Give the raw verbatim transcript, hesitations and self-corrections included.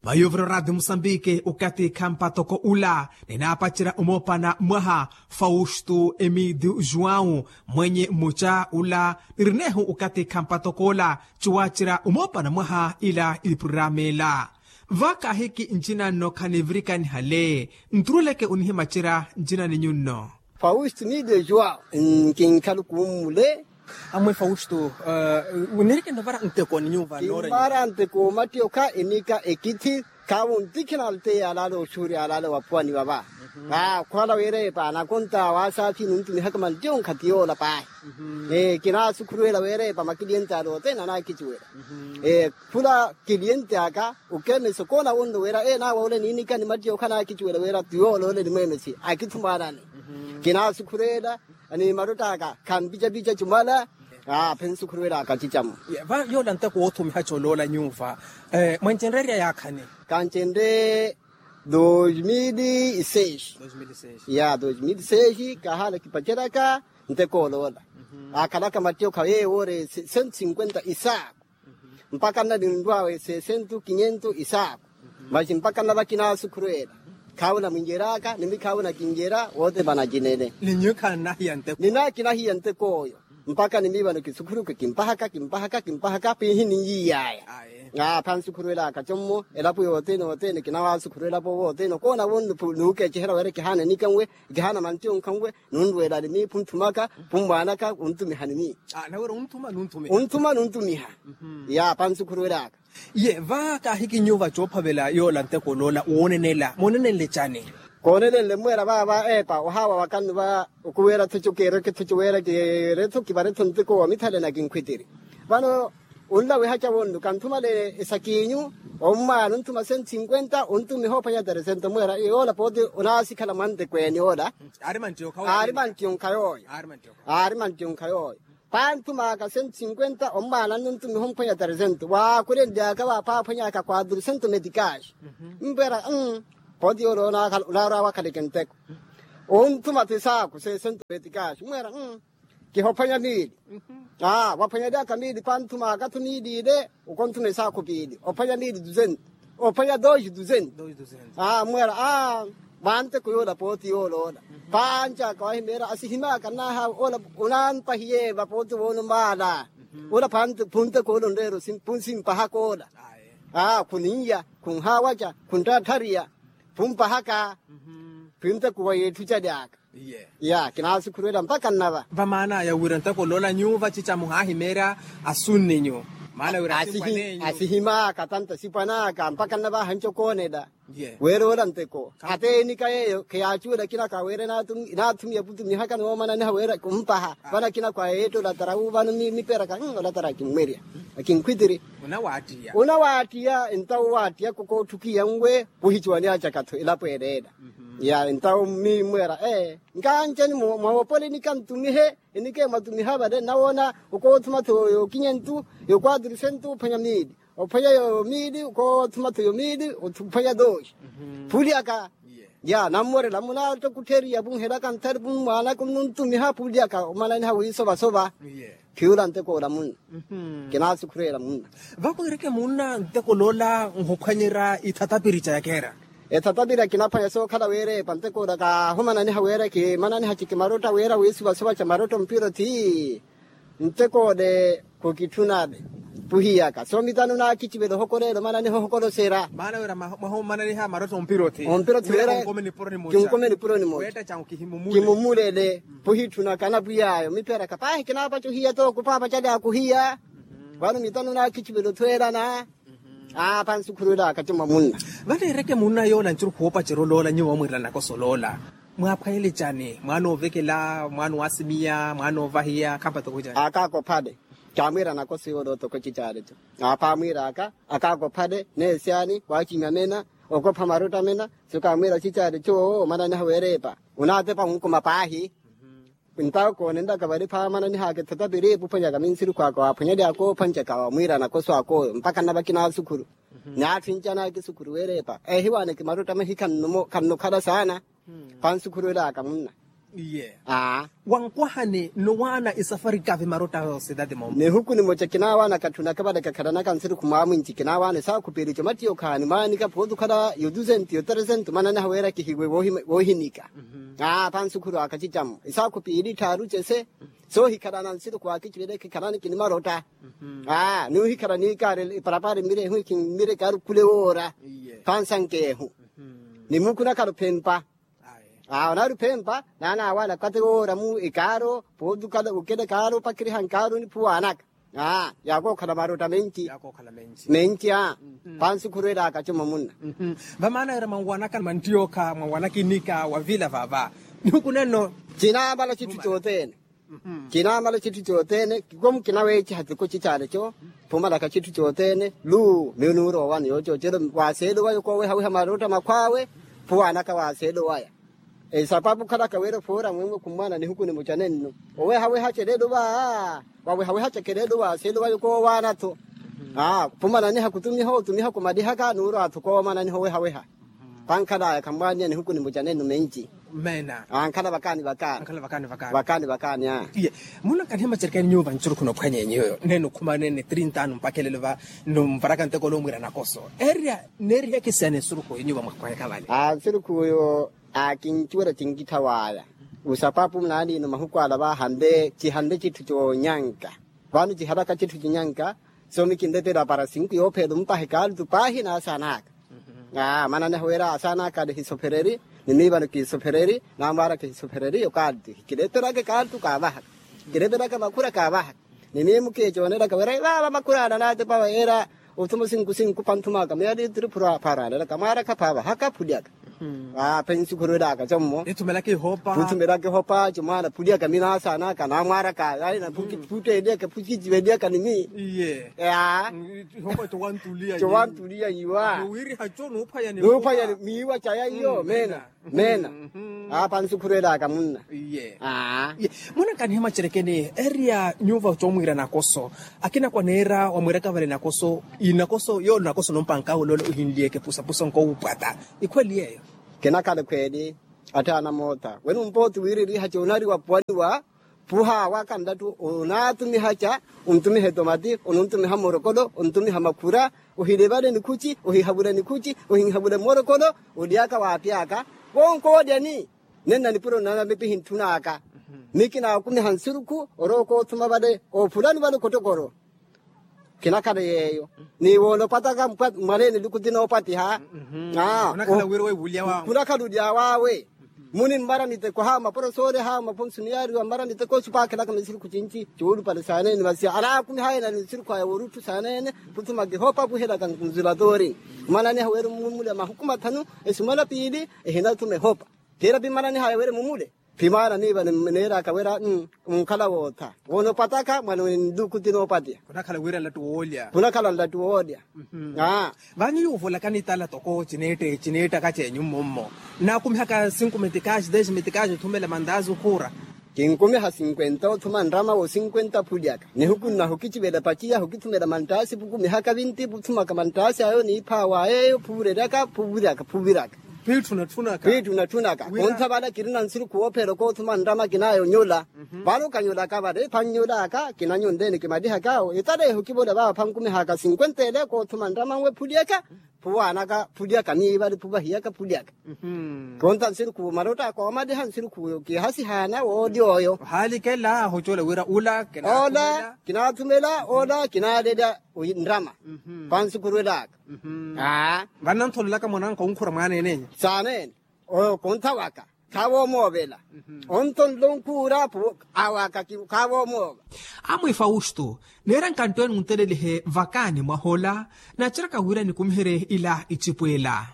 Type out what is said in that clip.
Vayuvira oradio musambiki okathi khampatoko ula ninaapacerya omoopana mwaha faustu emidi juwau mwenye mmuca ula nirinehu okathi khampatoko ula cuwacerya omoopana mwaha ila ipururama ila. Vakaahiki ncina nno khanivirikaniha le nturuleke onihimacerya ncina ninyu nno. Faustu midi juwau. Nkinkhalu kummule. Amwe faustu, nirikeni ovara nteko ni nyuva noora nyuva. Kimmara nteko omattiyo kha enika ekithi. Khawu ntikhina alteya alaala oxuuri alaala waphuwani vava. Khwala weerepa anakonta waasaathi nuntumihaka manttiyo nkhathi yoola paahi. Kinaasukhuruwela weerepa makiliyenti ale othene anaakicuwela. Khula kiliyenti aka okemesa okoona wonno wira ee naawa ole niinika ni mattiyo khanaakicuwela wira tuyoola ole nimwemesi akithumaanani. Kinaasukhuruwela ni marotta aka khampicapica cumala. Aa phensukhurwelaka cicamu. Yoola nteko woothumiha coloola nyuva mwancenreerya yaakhani? Kancenre dos mil e seis. Ya dos mil e seis kahaala kipaceraka nteko oloola. Akhalaka mattiyo khaye woore cento cinquenta isaaku. Mpakha nna ninrwaawe sesentu kinyentu isaaku. Maxi mpakha nna vakinaasukhurwela. Khaawu namwinjeraka ni mikhawu nakinjera woote vanacinene. Ni nyuwo khannahiya nteko. Ninaakinahiya nteko oyo. Mpakha ni miivano kisukhuruke kimpahaka kimpahaka kimpahaka piihi ninyiiyaya. Phansukhurwelaka commo elapo yothene othene kinawaasukhurwelapo wothene okoona wonno nuukecehela wira kihaana nikanwe. Kihaana mantiyo nkhanwe. Nunrweela ni miiphu nthumaka. Phummwaanaka wuntumihani miiyo. Wunthuma nuntumiha. Ya phansukhurwelaka. Ye va kaahiki nyuva coophavela yoola nteko oloola woonenela moonenenle cani? Koonenenle mweera vaava eepa ohaawa wakannu va okuweera-tho co kiireke-tho co weera kiire-tho kivare-tho nteko wa mithale na kinkhwitiri. Vano onlawiha ca wonnu kanthumale esakiinyu. Ommwaana onthuma cento cinquenta ontumiha ophwanya teresento mweera yoola pooti onaasikhala mwa nteko ene yoola. Aari manttiyo nkha yooyo. Aari manttiyo nkha yooyo. Phanthumaka cento cinquenta ommwaana nno ntumiha omphwanya teresento waakulenlyaka vaapha aphwanyaka quatrocento meticage. Mpwera pooti yoola onaarwa wakhaleke nteko. Onthuma-tho esaaku seesento meticage mweera kihophwanya miili. Aa waphwanyalyaka miili phanthumaka-tho miili ile okonthuma esaaku piili ophwanya miili dusento. Ophwanya dois dusento. Aa mweera aa vanteko yoola pooti yoola ola. Phanjaka wahimeera asihimaka nnaaha ola onampahiye vapooti voonumaala. Ola phunteko ola onreera phusimpahaka ola. Aa khuninya khunhaawaca khuntthatthariya phumpahaka. Phunteko wa yeetthu calyaka. Ya kinaasukhurwela mpakha nnava. Vamaanaya wira nteko oloola nyuva cica muhaahimeerya asunninyu maana wira asipwanenyu. Asihimaaka tanta sipwanaka mpakha nnava ahanci okoonela. Weera ola nteko ate enika yeeyo kheyaacuwela akina ka weera inaathumiya putumihaka ni woomananiha weera kumpaha vano akina kwa yeetta olatara wu vano miperaka olatara akimmwerya akinkhwitiri. Unawaattiya ntawo owaattiyaka okootthukiya nwe. Kuhicuwaniyacaka-tho elapo eleela. Ya ntawo mmimmwera ee nkancani mwawopola enika ntumihe enika emwatumiha vale nnawoona okoothuma-tho yookinyentu yookwaturu sentu ophwanya miili ophwanya yoomiili okoothuma-tho yoomiili ophwanya dooxi. Phulyaka ya nammorela munaatta okuttheriya vunhelaka nthari vummwaanaka onnuntumiha phulyaka omananiha wiisovasova. Khiyula ntekoola munna. Kinaasukhureela munna. Vakwiireke munna ntekoloola nhuphwanyerya ithatapiri ca yakeera. Ethatapiri akinaphwanya sookhala weereepa ntekoola kaahumananiha weera kimananiha cikimarotta weera wiisuvasuva ca marotta ompiro thii. Ntekoole khukitthunale puhiyaka soomitano naakicivela ohokoleela omananiha ohokoloserya. Maana wira mwaha omananiha marotta ompiro thii. Ompiro thii weera kinkome nipuro nimoca. Kimumulele puhitthunaka napwiy'aya omipheraka paahi kinaapaca ohiya tooku paapaca aly'aka ohiya. Vano mitano naakicivela othweelana. Aa pansukhurwel'aka ti mwa munna. Valeereke munna yoola ncuru khoopacerya oloola nyuwo wamwiirela nakosa oloola. Mwaaphwanyele cani mwaana oovekela mwaana owaasimiya mwaana oovahiya khampatoko cani. Akaako phale. Kaamwiira nakosa yoola otoko cicaaleco. Aaphaamwiir'aka akaako phale neesyani waacimya mena okopha marotta mena. Sikaamwiira cicaaleco owo omananiha weereepa onaatepa onkuma paahi. Ntawo koonenlaka vale phaamananihaka ethatapiri epuphwanyaka minsirukhwaka waaphwanyaly'aka oophwanjaka wamwiira nakoso ak'oyo mpakha nnavakina asukhuru. Naatthinca naakisukhuru weereepa ehiwaaneke marotta mahi khannukhala saana. Pansukhurwel'aka munna. Iye. Aa. Wankwahani nnuwaana isafari kavi marotta a sitati moomu. Nihuku nimoca kinaawaana katthunaka vale kakhalanaka nsiru khumwaamwinci kinaawaana esaakhu piili comattiyo khaani mwaanika phooti okhala yotuzenti yoteresenti mananeha weera kihiwe woohinika. Aa pansukhuru aka cicamo esaakhu piili tthaaru cese. Soohikhalana nsiru khwaakici vale khikhalani kinimarotta. Aa nuuhikhala niikaari eparapara emmire ehu ekimmire ekaaru khule woora. Pansankeehu. Nimuukhunakhala ophempa. Aa onaari ophempa naanaawaana kate woora mu ekaaro pootukala okela ekaaro opakiriha nkaaro niphuwaanaka. Aa yaakookhala marotta menci. Menci aa. Pansukhurwelaka como munna. Vamaana wira mwanwanaka manttiyookha mwanwanaka inika wavila vava. Nihukunenno. Cinaamala citthu cothene. Cinaamala citthu cothene kikomu kinaweeciha tiko cicaleco. Phumalaka citthu cothene luu miyo nuurowa ni yoococelo waaseelo waya koowehaweha marotta makhwaawe. Phuwaanaka waaseelo waya. Esapapu okhalaka wira ophoora mwemwe khumwaana nihuku nimoca nenno. Owehaweha celelo vaa wawehaweha cekeleelo waaseelo waya koowaana-tho. Aa phumananiha khutumiha otumiha khumalihaka nuurwa-tho koomananiha owehaweha. Pankhalaya khammwaaniya nihuku nimoca nenno menci. Meena. Ankhala vakaani vakaani. Vakaani vakaani aa. Iye. Munankanihe macerikani nyuwo vancurukhuna ophwanya enyuwo nene okhumanene trinta anu mpakha elelo va. Numvaraka nteko olomwiira nakoso erya neeriheke siyana esurukhu enyuwo vamwakhwaheka vale. Aa nsurukhu oyo. Aa kincuwela cinkittha waya. Usapapu naaniino mahuku ala vaahanle cihanle citthu coonyanka. Vano cihalaka citthu cinyanka. Soomi kinletela para sinku yoopheela omupaha ekaaltu paahi naasanaka. Aa mananeha wira asanaka ali hisophereri. Ni miivano kiisophereri naamwaaraka hisophereri yo kaaltu hikiletelaka ekaaltu kaavahaka. Kiletelaka makhura kaavahaka. Ni miimu kiicoonelaka wira vaava makhura ala naatepa weera. Othuma sinku sinku panthumaka miya liitiri phura pharanelaka mwaaraka phaavahaka phulyaka. Aa pensi khurwelaka commo. Phuthumela kihopa comwaana phulyaka minaasanaka naamwaaraka. Phuttteelyaka phuciciveliyaka ni mii. Aa. Cowantuliya nuuphwanya ni miiwa caya iyo meena. Meena. Aa pansukhurwelaka munna. Iye. Munankanihe macerekeni erya nyuva comwiira nakoso. Akina kwaneera wamwiiraka vale nakoso inakoso yoolo nakoso nompanka awolole ohinliyeke pusapusa nkowupwata. Ikhweli yeeyo. Kinakhala ekhweli. Attaana moota wene ompooti wiiririha coonari wapuwaniwa. Phuha waka nlattu onaatumiha ca. Ontumiha etomati onontumiha morokolo ontumiha makhura. Ohilivale nikhuci ohihavula nikhuci ohinhavula morokolo. Olyaka waapyaka wonko olyani. Nenna nipuro nnanamipihi ntthunaka. Mikinaakumiha nsurukhu orowa okoothuma vale ophulani vale okotokoro. Kinakhala yeeyo. Ni woonopataka mwaleeni lukuti noopatiha. Khunakhala olyawawe. Munimmara miteko hawo maporosoole hawo maponso niyaariwa mmara miteko osupaakhelaka misirikhu cinci. Coolupale saaneene vasiya alaakumihaye nali nsirikhu aya woorutthu saaneene. Khuthuma kihopa kuhelaka nzulatori. Mwananiha weeri mumule mahuku mathanu. Esimana piili ehinathuma ehopa. Tiira pimananiha aya weeri mumule. Pimaana miiva neeraka wira. Munkhala wootha woonopataka mwana wenluku ti noopatiha. Khunakhala wira nlattu woolya. Khunakhala nlattu woolya. Aa. Vaanyu yuuvolakani tala toko cineetta cineetta kaceenyu mmommo. Naakumihaka sinku metikaxi dez metikaxi othumela mantaasi okhuura. Kinkumiha sinkwenta othuma nrama wo sinkwenta phulyaka nihuku nnaha okicivela paciya hokithumela mantaasi pukumihaka vinti puthumaka mantaasi ayo niiphawa yeeyo phuvirelaka phuviraka phuviraka. Piitthu natthunaka. Piitthu natthunaka. Ontha vale kirina nsiru khuwopheela okoothuma nrama kinaayo onyola. Vale okanyolaka vale phannyolaka kinanyonleene kimalihaka awo etaleeho kivola vaava phankumihaka sinkwenta ele okoothuma nrama nwe phulyaka. Phuwaanaka phulyaka miivali phuvahiyaka phulyaka. Kontha nsiru khuwo marotta koomaliha nsiru khuwo kihasihaana woolya oyo. Ohaalikela ahocola wira ula. Ola kinaathumela ola kinaalelya. Nrama. Pansukhurwelaka. Vannanthololaka mwananka onkhura mwaaneenenya. Saaneene. Oyo kontha waka. Khaavoomoovela. Onthonlo nkhuura awo aka. Khaavoomoova. Amwi fausto neera nkanttwene ontelelihe vakaani mwahola. Naceraka wira nikumiherye ila icipo ela.